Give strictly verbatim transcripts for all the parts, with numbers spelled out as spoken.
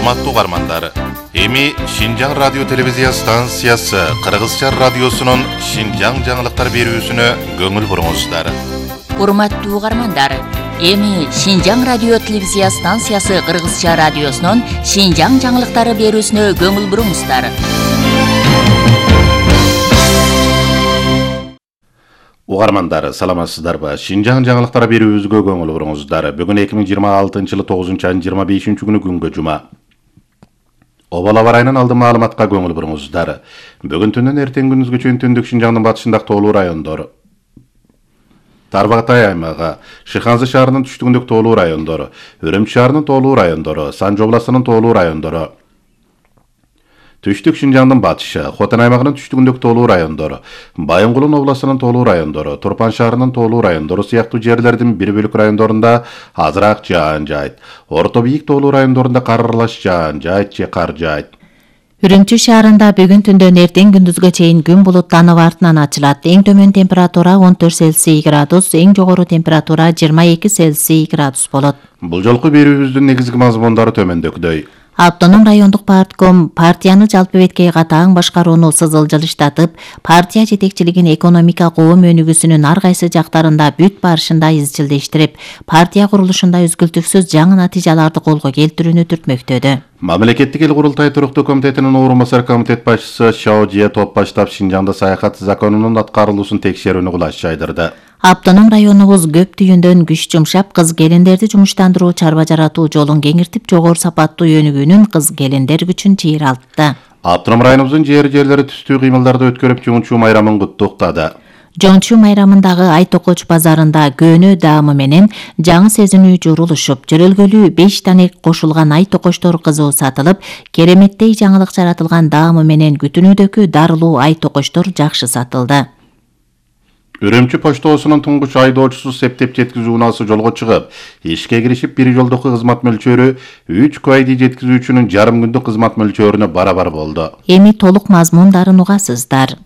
Урматтуу угармандар, эми Шинжаң радио телевизия станциясы Кыргызча радиосунун Шинжаң жаңылыктар берүүсүнө көңүл буруңуздар. Урматтуу угармандар, эми Шинжаң радио телевизия станциясы Кыргызча радиосунун Шинжаң жаңылыктары берүүсүнө көңүл буруңуздар. Угармандар, саламатсыздарбы? Шинжаң жаңылыктары берүүбүзгө көңүл буруңуздар. Бүгүн эки миң жыйырма алтынчы жылы тогузунчу айдын жыйырма бешинчи күнү күнгө жума. Обал аба райынан алдын маалыматка көңүл буруңуздар. Бүгүн түндөн эртең күндүзгө чейин түндүк Шинжаңдын батышындагы тоолуу райондор, Тарбагатай аймагы, Шыханзы шаарынын түштүгүндөгү тоолуу райондор, Өрөмчү шаарынын тоолуу райондору, Санжы областынын тоолуу райондору, Түштүк Шинжаңдын батышы, Хотан аймагынын түштүгүндөгү тоолуу райондору, Байынгулун областынын тоолуу райондору, Турпан шаарынын тоолуу райондору сыяктуу жерлердин бир бөлүк райондорунда азыраак жаан жайт. Орто бийик тоолуу райондорунда кар аралаш жаан жайт же кар жайт. Үрүмчү шаарында бүгүн түндөн эртең күндүзгө чейин күн булуттанып артынан ачылат. Эң төмөн температура он төрт Цельсий градус, эң жогору температура жыйырма эки Цельсий градус болот. Бул жолку берүүбүздүн негизги мазмундары төмөндөгүдөй. Автоном райондук партком партияны жалпы беткей катаң башкарууну сызылжылыштатып, партия жетекчилигин экономика коом өнүгүүсүнүн ар кайсы жактарында бүт барышында изчилдештирип, партия курулушунда үзгүлтүксүз жаңы натыйжаларды колго келтирүүнү түртмөктөдү. Мамлекеттик эл курултай туруктуу комитетинин орун басар комитет башчысы Шао Жие топ баштап Шинжаңда саякат законунун аткарылуусун текшерүүнү кулаш жайдырды. Автоном районубуз көп түйүндөн күч жумшап, кыз келиндерди жумуштандыруу, чарба жаратуу жолун кеңиртип, жогору сапаттуу өнүгүүнүн кыз келиндер күчүн чыйралтты. Автоном районубуздун жер жерлери түстүү кыймылдарды өткөрүп, Жоңчу майрамын куттуктады. Жоңчу майрамындагы Ай Токоч базарында көөнө даамы менен жаңы сезинүү журулушуп, жөрөлгөлүү беш танек кошулган Ай Токочтор кызуу сатылып, кереметтей жаңылык жаратылган даамы менен күтүнүүдөгү дарылуу Ай Токочтор жакшы сатылды. Үрөмчү поштосунун туңгуч айдоочусу септеп жеткизүү унаасы жолго чыгып, ишке киришип, бир жолдуку кызмат мөлчөрү үч квайди жеткизүүчүнүн жарым күндүк кызмат мөлчөрүнө барабар болду. Эми толук мазмундарын угасыздар.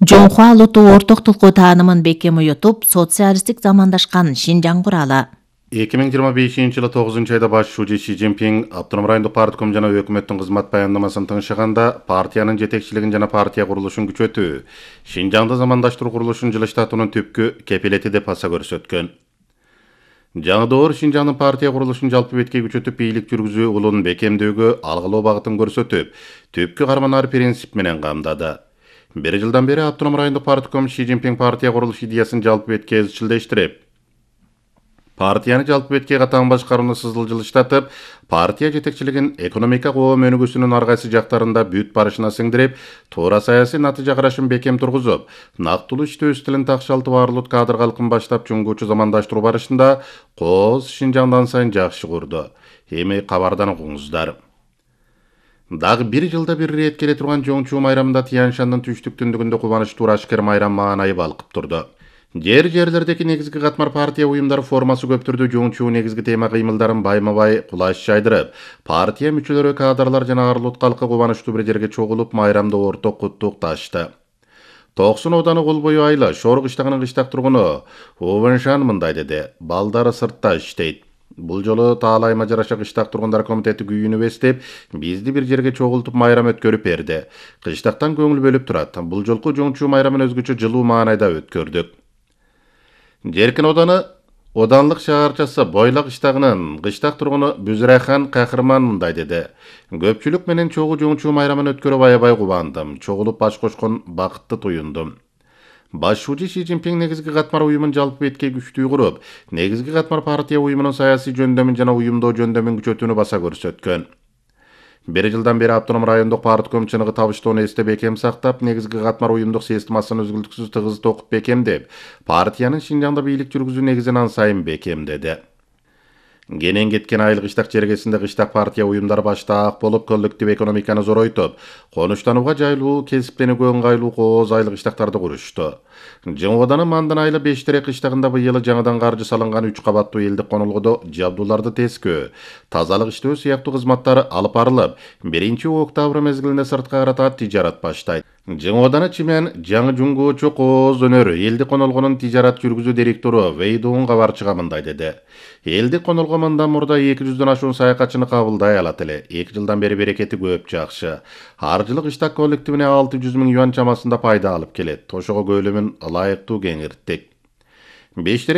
Жоңхуа Луту орток тилку таанымын бекем уютуп, социалисттик замандашкан Шинжаң куралы. эки миң жыйырма бешинчи жылы тогузунчу айда баш шужи Си Цзиньпин автоном райондук партком жана өкмөттүн кызмат баяндамасын тыңшыганда, партиянын жетекчилигин жана партия курулушун күчөтүү, Шинжаңды замандаштыруу курулушун жылыштатуунун түпкү кепилети деп баса көрсөткөн. Жаңы доор Шинжаңдын партия курулушун жалпы беткей күчөтүп, бийлик жүргүзүү улун бекемдөөгө алгылоо багытын көрсөтүп, түпкү карманар принцип менен камдады. Бир жылдан бери автоном райондук партком Си Цзиньпин партия курулуш идеясын жалпы бетке изчилдештирип, партияны жалпы беткей катаң башкарууну сызылжылыштатып, партия жетекчилигин экономика коом өнүгүүсүнүн ар кайсы жактарында бүт барышына сиңдирип, туура саясий натыйжа карашын бекем тургузуп, нактылуу иштөө стилин такшалтып, арлут кадр калкын баштап, чуңгуучу замандаштыруу барышында кооз Шинжаңдан сайын жакшы курду. Эми кабардан угуңуздар. Дагы бир жылда бир ирет келе турган Жоңчу майрамында Тянь-Шандын түштүк түндүгүндө кубанычтуу ашкер майрам маанайы балкып турду. Жер жерлердеги негизги катмар партия уюмдары формасы көп түрдө Жоңчу негизги тема кыймылдарын байма-бай кулаш жайдырып, партия мүчөлөрү, кадрлар жана арлут калкы кубанычтуу бир жерге чогулуп, майрамды орток куттукташты. Токсон ооданы кол бою айла Шор кыштагынын кыштак тургуну Увеншан мындай деди: балдары сыртта иштейт. Бул жолу таалайма жараша кыштак тургундар комитети күйүүнү эстеп, бизди бир жерге чогултуп майрам өткөрүп берди. Кыштактан көңүл бөлүп турат. Бул жолку Жоңчу майрамын өзгөчө жылуу маанайда өткөрдүк. Жеркин ооданы Оданлык шаарчасы Бойлак кыштагынын кыштак тургуну Бүзүрайхан Кахырман мындай деди: көпчүлүк менен чогуу Жоңчу майрамын өткөрүп аябай кубандым. Чогулуп баш кошкон бакытты туюндум. Баш шужи Си Цзиньпин негизги катмар уюмун жалпы беткей күчтүү куруп, негизги катмар партия уюмунун саясий жөндөмүн жана уюмдоо жөндөмүн күчөтүүнү баса көрсөткөн. Бир жылдан бери автоном райондук партком чыныгы табыштоону эсте бекем сактап, негизги катмар уюмдук системасын үзгүлтүксүз тыгыз токуп бекемдеп, партиянын Шинжаңда бийлик жүргүзүү негизин ан сайын бекемдеди. Кенен кеткен айыл кыштак чергесинде кыштак партия уюмдары баштаак болуп, коллектив экономиканы зоройтуп, конуштанууга жайлуу, кесипленүүгө ыңгайлуу кооз айыл кыштактарды курушту. Жыңоданын Мандан айылы Бештерек кыштагында быйыл жаңыдан каржы салынган үч кабаттуу элдик конолгодо жабдууларды тескөө, тазалык иштөө сыяктуу кызматтар алып барылып, биринчи октябрь мезгилинде сыртка карата тижарат баштайт. Жыңоданы Чимен жаңы жуңгоочу Кооз Өнөр элдик конолгонун тижарат жүргүзүү директору Вейдуун кабарчыга мындай деди. Элдик конолго мындан мурда эки жүздөн ашуун саякатчыны кабылдай алат эле. эки жылдан бери берекети көп, жакшы. Аржылык иштак коллективине алты жүз миң юан чамасында пайда алып келет. Ошого көлөмүн ылайыктуу кеңирттик. Бештерек